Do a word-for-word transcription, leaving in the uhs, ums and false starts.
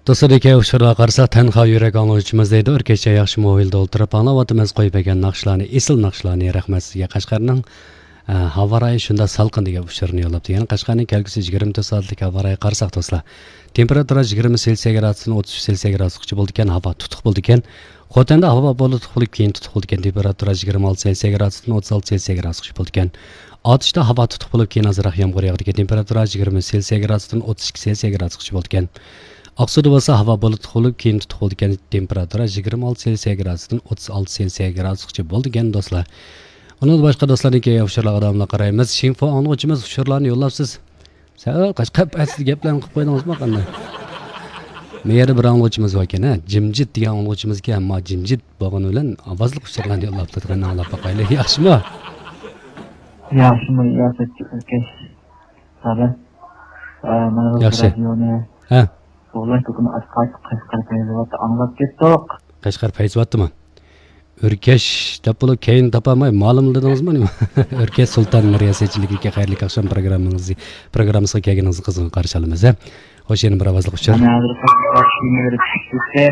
دوستلار، كەينىدىكى ئۇچۇرلارغا قارىساق، تەنھا يۈرەك ئاڭلىغۇچىمىز دەيدۇ. ئۆركەشچە ياخشى مۇھىتتا ئولتۇرۇپ ئاڭلاۋاتىمىز، قويۇپ بەرگەن ناخشىلارنى، ئېسىل ناخشىلارنى. رەھمەت سىزگە. قەشقەرنىڭ، ئە، ھاۋا رايى شۇنداق سالقىن دېگەن ئۇچۇرنى يوللاپتۇ. يەنە قەشقەرنىڭ كەلگۈسى يىگىرمە تۆت سائەتلىك ھاۋا رايىغا قارىساق، دوستلار، تېمپېراتۇرا يىگىرمە سېلسىيە گرادۇستىن ئوتتۇز ئۈچ سېلسىيە گرادۇسقىچە بولىدىكەن، ھاۋا تۇتۇق بولىدىكەن. خوتەندە ھاۋا بۇلۇتلۇق بولۇپ، كېيىن تۇتۇق بولىدىكەن، تېمپېراتۇرا يىگىرمە ئالتە سېلسىيە گرادۇستىن ئوتتۇز ئالتە سېلسىيە گرادۇسقىچە بولىدىكەن. ئاتۇشتا ھاۋا تۇتۇق بولۇپ، كېيىن ئازراق يامغۇر ياغىدىكەن، تېمپېراتۇرا يىگىرمە سېلسىيە گرادۇستىن ئوتتۇز ئىككى سېلسىيە گرادۇسقىچە بولىدىكەن. ئاقسۇدا بولسا ھاۋا بۇلۇتلۇق بولۇپ، كېيىن تۇتۇق بولىدىكەن، تېمپېراتۇرا يىگىرمە ئالتە سېلسىيە گرادۇستىن ئوتتۇز ئالتە سېلسىيە گرادۇسقىچە بولىدىكەن، دوستلار. ئۇنىڭدىن باشقا دوستلارنىڭكى ئۇچۇرلارغا داۋاملىق قارايمىز. شىنفو ئاڭلىغۇچىمىز ئۇچۇرلارنى يوللاپسىز. سەل قەشقەر پەيزىدە گەپلەرنى قىلىپ قويدىڭىزمۇ قانداق؟ مۇ يەردە بىر ئاڭلىغۇچىمىز باركەن، ھە، جىمجىت دېگەن ئاڭلىغۇچىمىزكەن، ئەمما جىمجىت بولغىنى بىلەن ئاۋازلىق ئۇچۇرلارنى يوللاپ تۇرىدىغان، ئاڭلاپ باقايلى، ياخشىمۇ؟ ياخشىمۇ، ياخشى، ئۆركەش. سادە. ئە، مانا بۇ ياخشى. رادىيونى ھە. قوغلاش دۇكىنى ئاچقاچ، قەشقەر پەيزىۋاتتا ئاڭلاپ كەتتۇق. قەشقەر پەيزىۋاتتىمۇ؟ ئۆركەش دەپ بولۇپ، كەينىنى تاپالماي، مالىملا دېدىڭىزمۇ نېمە؟ ئۆركەش سۇلتان رىياسەتچىلىكىدىكى خەيرلىك ئاخشام پروگراممىڭىزنى، پروگراممىسىغا كەلگىنىڭىزنى قىزغىن قارشى ئالىمىز، ھە. خوش، يەنە بىر ئاۋازلىق ئۇچۇر. مانا ھازىر قەشقەر كىيىملىرى چىقىپ كەتتى.